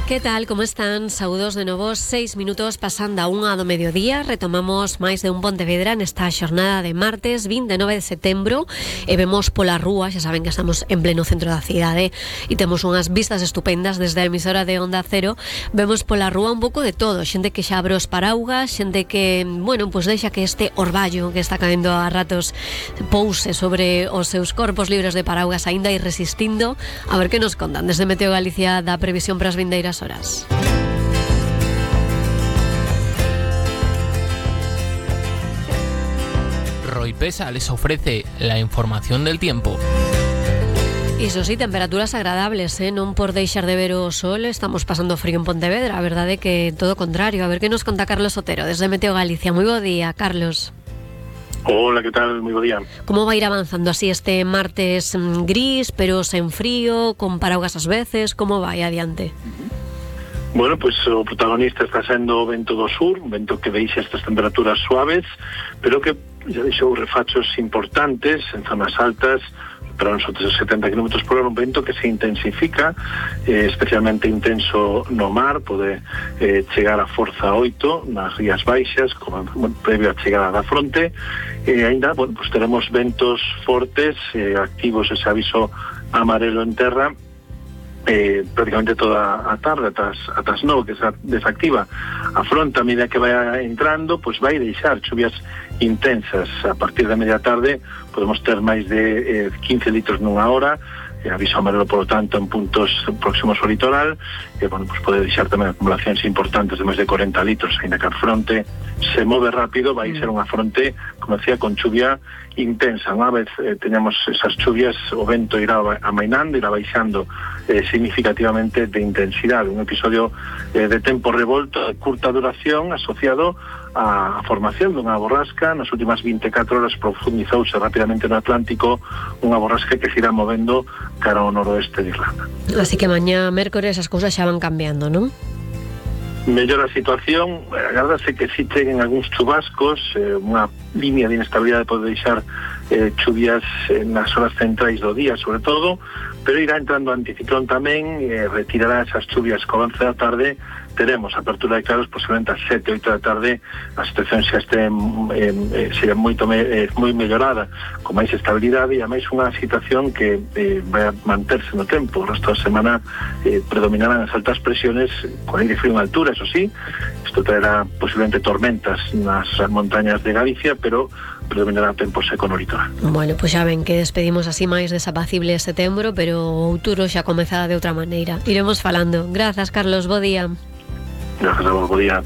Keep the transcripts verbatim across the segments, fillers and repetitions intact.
Que tal, como están? Saúdos de novo, seis minutos pasando a unha do mediodía. Retomamos máis de un Pontevedra nesta xornada de martes vinte e nove de setembro e vemos pola rúa, xa saben que estamos en pleno centro da cidade e temos unhas vistas estupendas desde a emisora de Onda Cero. Vemos pola rúa un pouco de todo, xente que xa abre os paraugas, xente que, bueno, pois deixa que este orballo que está caendo a ratos pouse sobre os seus corpos libres de paraugas aínda ir resistindo. A ver que nos contan desde Meteo Galicia da previsión para as vindeiras horas. Roipesa les ofrece la información del tiempo. Iso sí, temperaturas agradables, eh? Non por deixar de ver o sol estamos pasando frío en Pontevedra. A verdade é que todo o contrario. A ver que nos conta Carlos Otero desde Meteo Galicia. Moi bo día, Carlos. Hola, ¿qué tal? Muy buen día. ¿Cómo va a ir avanzando así este martes mmm, gris, pero sen frío, con paraugas ás veces? ¿Cómo vai adiante? Bueno, pues o protagonista está sendo o vento do sur, un vento que deixa estas temperaturas suaves, pero que ya deixou refachos importantes en zonas altas, para nosotros setenta kilómetros por hora, un vento que se intensifica, eh, especialmente intenso no mar, pode eh, chegar a forza oito nas rías baixas, como bueno, previo a chegada da fronte, e eh, ainda, bueno, pues teremos ventos fortes, eh, activos ese aviso amarelo en terra, Eh, prácticamente toda a tarde atas, atas nove, que se desactiva a fronte a medida que vaya entrando, pues vai deixar chuvias intensas. A partir da media tarde podemos ter máis de eh, quince litros nunha hora, eh, aviso amarelo, por lo tanto, en puntos próximos ao litoral, e, eh, bueno, pues pode deixar tamén acumulacións importantes de máis de cuarenta litros, ainda que a fronte se move rápido, vai ser unha fronte, como decía, con chuvia intensa. Unha vez eh, teñamos esas chuvias, o vento irá amainando, irá baixando eh, significativamente de intensidade. Un episodio eh, de tempo revolto de curta duración asociado a formación dunha borrasca. Nas últimas vinte e catro horas profundizouse rapidamente no Atlántico unha borrasca que se irá movendo cara ao noroeste de Irlanda. Así que mañá mércores as cousas xa van cambiando, non? Mellora a situación, agardase que si cheguen algúns chubascos, eh, unha línea de inestabilidade pode deixar eh, chuvias eh, nas horas centrais do día, sobre todo, pero irá entrando o anticiclón tamén, eh, retirará esas chuvias co avance da tarde. Teremos apertura de claros posiblemente ás sete, oito da tarde. A situación xa este eh, eh, será moito me, eh, moi mellorada, con máis estabilidade, e a máis unha situación que eh, vai a manterse no tempo. O resto da semana eh, predominarán as altas presiones con aire frío en altura, eso sí. Isto traerá posiblemente tormentas nas montañas de Galicia, pero predominará tempo seco no litoral. Bueno, pois pues xa ven que despedimos así máis desapacible setembro, pero o outubro xa comezará de outra maneira. Iremos falando. Grazas, Carlos, bo día. Gracias a vos, bo día.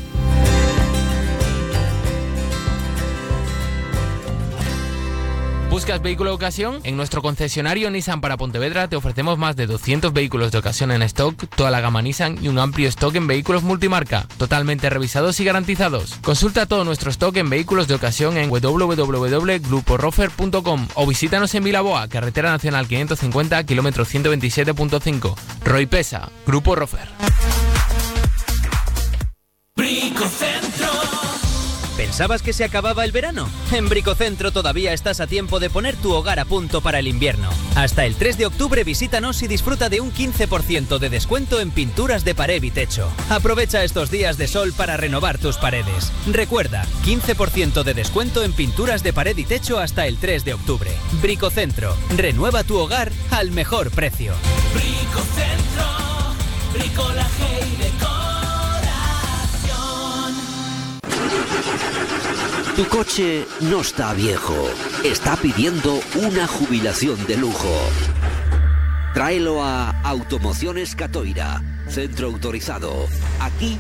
¿Buscas vehículo de ocasión? En nuestro concesionario Nissan para Pontevedra te ofrecemos más de doscientos vehículos de ocasión en stock, toda la gama Nissan y un amplio stock en vehículos multimarca, totalmente revisados y garantizados. Consulta todo nuestro stock en vehículos de ocasión en w w w punto grupo rofer punto com o visítanos en Vilaboa, carretera nacional quinientos cincuenta, kilómetro ciento veintisiete punto cinco. Roipesa, Grupo Rofer. Bricocentro. ¿Pensabas que se acababa el verano? En Bricocentro todavía estás a tiempo de poner tu hogar a punto para el invierno. Hasta el tres de octubre visítanos y disfruta de un quince por ciento de descuento en pinturas de pared y techo. Aprovecha estos días de sol para renovar tus paredes. Recuerda, quince por ciento de descuento en pinturas de pared y techo hasta el tres de octubre. Bricocentro, renueva tu hogar al mejor precio. Bricocentro, bricolaje y decoración. Tu coche no está viejo, está pidiendo una jubilación de lujo. Tráelo a Automociones Catoira, centro autorizado. Aquí